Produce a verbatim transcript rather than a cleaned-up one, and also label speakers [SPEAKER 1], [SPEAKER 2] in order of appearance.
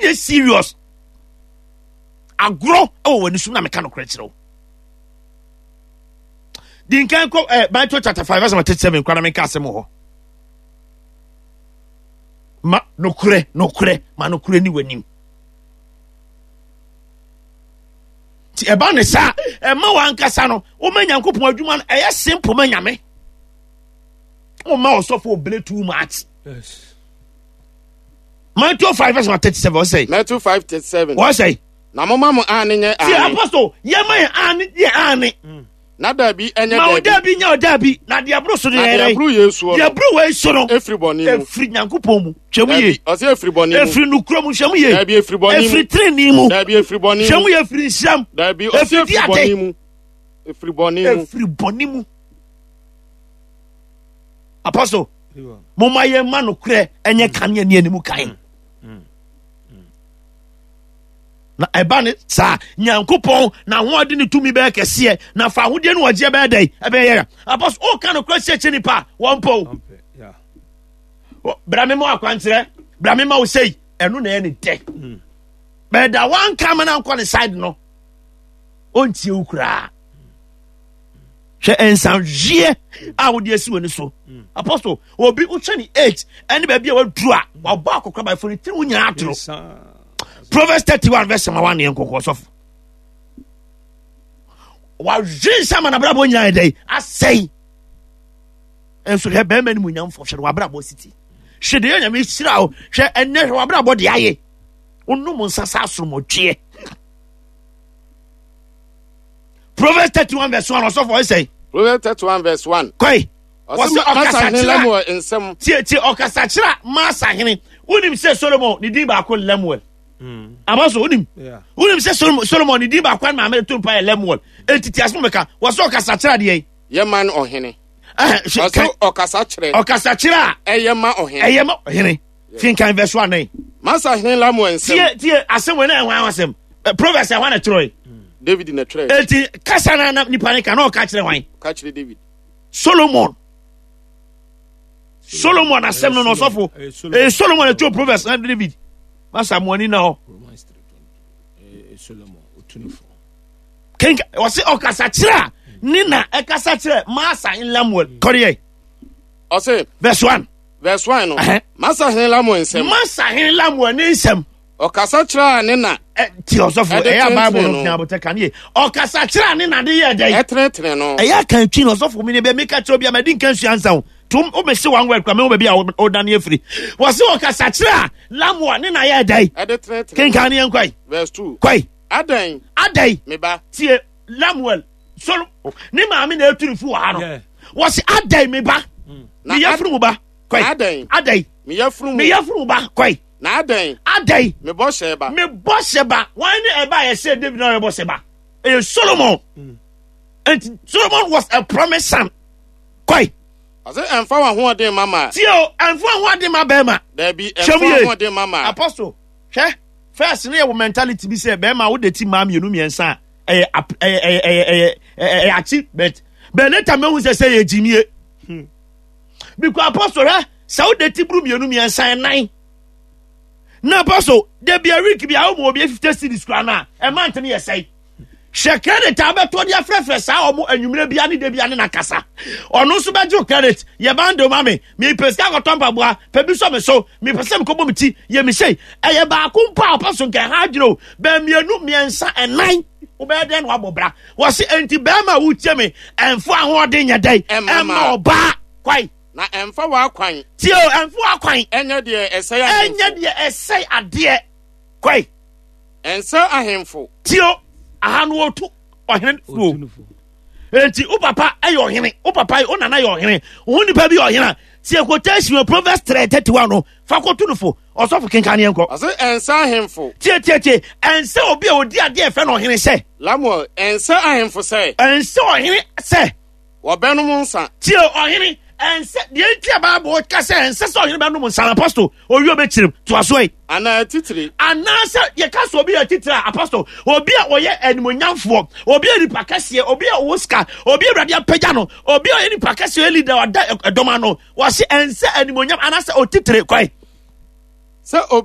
[SPEAKER 1] Wonyɛ serious. Agorɔ wɔ w'ani so na meka nokorɛ kyerɛ wo. Di nkan kɔ eh, Matthew chapter five verse thirty seven kora na menka asɛm wɔ hɔ. Ma nokorɛ, nokorɛ, ma nokorɛ ni w'anim. Nti ɛba ne saa, ɛma w'ankasa no, woma Nyankopɔn adwuma no, ɛyɛ simple ma Nyame. Woma ɔsɔfo obele too much.
[SPEAKER 2] Yes.
[SPEAKER 1] Matthew five verse thirty seven ɔsɛ.
[SPEAKER 3] Matthew five thirty seven.
[SPEAKER 1] Ɔsɛ.
[SPEAKER 3] Na mo ma mo aane nyɛ
[SPEAKER 1] Ti
[SPEAKER 3] aane.
[SPEAKER 1] apostle yɛ ma yɛ aane yɛ aane.
[SPEAKER 3] Na daabi ɛnyɛ
[SPEAKER 1] Ma wo
[SPEAKER 3] daabi.
[SPEAKER 1] daabi nyɛ ɔdaabi na deɛ aboro so no
[SPEAKER 3] Na
[SPEAKER 1] yɛ
[SPEAKER 3] deɛ
[SPEAKER 1] yɛrɛ.
[SPEAKER 3] aboro yɛ soɔ
[SPEAKER 1] Deɛ
[SPEAKER 3] no
[SPEAKER 1] aboro wei so no
[SPEAKER 3] efiri bɔne mu.
[SPEAKER 1] efiri Nyankopɔn mu. Hwɛ mu yie.
[SPEAKER 3] Daabi ɔsɛ efiri bɔne mu.
[SPEAKER 1] Efiri nukuro mu hwɛ mu yie.
[SPEAKER 3] Daabi efiri bɔne mu.
[SPEAKER 1] Efiri tirinii mu.
[SPEAKER 3] Daabi efiri bɔne
[SPEAKER 1] Hwɛ
[SPEAKER 3] mu.
[SPEAKER 1] mu yie efiri nhyiam.
[SPEAKER 3] Daabi ɔsɛ
[SPEAKER 1] Efiri
[SPEAKER 3] efiri
[SPEAKER 1] di ade.
[SPEAKER 3] bɔne mu. Efiri bɔne mu.
[SPEAKER 1] Efiri bɔne mu. Apostle, momma yɛn ma nokorɛ ɛnyɛ kanea ne anim kan. Na ɛba ne saa Nyankopɔn na ahoɔden ne tumi bɛyɛ kɛseɛ na fa ahodeɛ ne ɔgyeɛ bɛyɛ dɛn ɛbɛyɛ yɛ. Apostle, woka nokorɛ kyerɛkyerɛ nipa a wɔmpɛ o. Bra me ma akwankyerɛ, bra me ma wo sei, ɛno na ɛyɛ ne dɛ. Bɛda wanka ma no ankɔ ne side no, ɔntie wo koraa. Hwɛ nsanhweɛ a wode asi w'ani so. Apostle, obi wohwɛ ne age ɛne baabi a waduru a wabɔ akɔkora baifo ne tiri wo nyinaa atoro. Proverbs thirty one verse ma one yɛn kɔkɔ sɔfo. Wahwe nsa ma n'abrabɔ nyinaa yɛ dɛ asɛe. Nso hwɛ bɛrima no mu nyamfo hwɛ no w'abrabɔ siti. Hwɛ deɛ Nyame hyira wo hwɛ ɛnɛ hwɛ w'abrabɔ deɛ ayɛ. Wonom nsa saa asoromɔtweɛ. Proverbs thirty one verse one ɔsɔfo ɔsɛ.
[SPEAKER 3] Proverbs thirty one verse one.
[SPEAKER 1] Kɔe.
[SPEAKER 3] Ɔsɛ ɔkasa Lemuel nsɛm.
[SPEAKER 1] Tie tie ɔkasa kyerɛ Masa hene. Wonim sɛ Solomon ne din baako Lemuel.
[SPEAKER 2] Mm.
[SPEAKER 1] Aba so wonim. Wonim sɛ Solomon ne din baako a maame to mpa yɛ Lemuel. Enti ti asɛm bɛka. Wɔsɛ ɔkasa kyerɛ adeɛ yi.
[SPEAKER 3] Yɛ man ɔhene. Ɔsɛ ɔkasa kyerɛ.
[SPEAKER 1] Ɔkasa kyerɛ a.
[SPEAKER 3] Ɛyɛ ma ɔhene.
[SPEAKER 1] Ɛyɛ ma ɔhene. Finkan verse one nine.
[SPEAKER 3] Masa hene Lemuel nsɛm.
[SPEAKER 1] Tie tie asɛm wɔ ne ɛho asɛm. Proverbs ɛho na twerɛ yi.
[SPEAKER 3] David na twerɛ.
[SPEAKER 1] Eti kasa na na nipa ne ka na ɔka kyerɛ hwan.
[SPEAKER 3] Ka kyerɛ David.
[SPEAKER 1] Solomon. Solomon asɛm no na ɔsɔfo. Ɛyɛ Solomon ɛtwerɛ Proverbs na David. Masa mo ani na hɔ. Kenka ɔsɛ ɔkasa kyerɛ a ne na ɛkasa kyerɛ Masa Lemuel. Kɔdeɛ.
[SPEAKER 3] Ɔsɛ.
[SPEAKER 1] Verse one.
[SPEAKER 3] Verse one no. Masa hene Lemuel nsɛm.
[SPEAKER 1] Masa hene Lemuel ne nsɛm.
[SPEAKER 3] Ɔkasa kyerɛ a ne na.
[SPEAKER 1] Ti ɔsɔfo ɛyɛ Bible no knya abotɛ kan ye. Ɔkasa kyerɛ a ne na de yɛ dɛ.
[SPEAKER 3] Ɛtenetene no.
[SPEAKER 1] Ɛyɛ kan twi no ɔsɔfo mi ne bɛ mi ka kyerɛ obi a ma di nkan sua nsa o. Tum o bɛ se one word kura mi wo baabi a o dane afiri. Wɔsi ɔkasa kyerɛ a Lemuel ne na yɛ dɛ.
[SPEAKER 3] Ɛde tenetene.
[SPEAKER 1] Kenkan ne yɛn kɔe.
[SPEAKER 3] Verse two.
[SPEAKER 1] Kɔe.
[SPEAKER 3] Adɛn.
[SPEAKER 1] Adɛn.
[SPEAKER 3] Me ba.
[SPEAKER 1] Tie Lemuel solo ne maame na etu ne fu wɔ ha no. Wɔsi adɛn me ba. Me yafunu mu ba. Kɔe.
[SPEAKER 3] Adɛn.
[SPEAKER 1] Adɛn.
[SPEAKER 3] Me yafunu mu.
[SPEAKER 1] Me yafunu mu ba. Kɔe.
[SPEAKER 3] Na adɛn.
[SPEAKER 1] Adɛn.
[SPEAKER 3] Me bɔhyɛ ba.
[SPEAKER 1] Me bɔhyɛ ba. Wɔn ne ɛba a yɛsɛ David na ɔyɛ bɔhyɛ ba. Ɛyɛ Solomon. Mm. And Solomon was a promised son. Kɔe.
[SPEAKER 3] Ɔsɛ ɛnfa wɔn ahoɔden ma ma.
[SPEAKER 1] Tie o, ɛnfa wɔn ahoɔden ma bɛrima.
[SPEAKER 3] Dɛbi, ɛnfa wɔn ahoɔden ma ma.
[SPEAKER 1] Apostle, hwɛ, first ne yɛ wɔ mentality bi sɛ bɛrima wo de ti maa mmienu mmiɛnsa a ɛyɛ ɛyɛ ɛyɛ ɛyɛ ɛyɛ achievement. Bɛn later mehu sɛ sɛ yɛ gyimie. Hmm. Because apostle hwɛ, sɛ wo de ti buru mmienu mmiɛnsa ɛnan. Na apostle, de bi a week bi a wo mu obi fifty cedis kura na ɛma ntene yɛ sɛe. Hwɛ credit a wobɛtɔ de afrɛfrɛ saa ɔmo anwummerɛ bia ne da bia ne nakasa. Ɔno nso bɛgye wo credit. Yɛ bando ma me. Mepɛ sika akɔtɔ mpaboa. Pɛ bi sɔ me so. Mepɛ sɛ mekɔbɔ me ti. Yɛ me sei. Ɛyɛ baako mpo a ɔpɛ so nka ɛha adwene o. Bɛn mmienu, mmiɛnsa, ɛnan. Wobɛyɛ dɛn na wabɔ bra? Wɔse enti bɛrima a wotie me, ɛmfa ahoɔden nyɛ dɛn? Ɛmma ɔbaa. Kwae.
[SPEAKER 3] Na ɛmfa w'akwan.
[SPEAKER 1] Tie o, ɛmfa w'akwan.
[SPEAKER 3] Ɛnyɛ deɛ ɛsɛe ahemfo.
[SPEAKER 1] Ɛnyɛ deɛ ɛsɛe adeɛ. Kwae.
[SPEAKER 3] Ɛnsɛ ahemfo.
[SPEAKER 1] Tio, aha no wɔtu ɔhene fuo. Enti wo papa yɛ ɔhene, wo papa wo nana yɛ ɔhene, wo nipa bi yɛ ɔhene a, tie quotation wɔ Proverbs three thirty one no, fa kɔto no fo. Ɔsɔfo kenkan ne yɛnkɔ.
[SPEAKER 3] Ɔse ɛnsɛ ahemfo.
[SPEAKER 1] Tie tie tie, ɛnsɛ obi a ɔdi adeɛ ɛfɛ no ɔhene sɛ.
[SPEAKER 3] Lamuel, ɛnsɛ ahemfo sɛ.
[SPEAKER 1] Ɛnsɛ ɔhene sɛ.
[SPEAKER 3] Wɔbɛnom nsa.
[SPEAKER 1] Tie ɔhene, ɛnsɛ deɛ nti a Bible ka sɛ ɛnsɛ sɛ ɔhene bɛnom nsa no, apostle owie ɔbɛkyerɛm toa so yi.
[SPEAKER 3] Anaa titire.
[SPEAKER 1] Anaasɛ yɛka sɛ obi yɛ titire a, apostle obi a ɔyɛ animonyamfoɔ, obi a nipa kɛseɛ, obi a ɔwɔ sika, obi a Awurade apagya no, obi a ɔyɛ nipa kɛseɛ, ɔyɛ leader, ɔda ɛdɔm ano, wɔse ɛnsɛ animonyam anaasɛ otitire kwan
[SPEAKER 3] sɛ obi.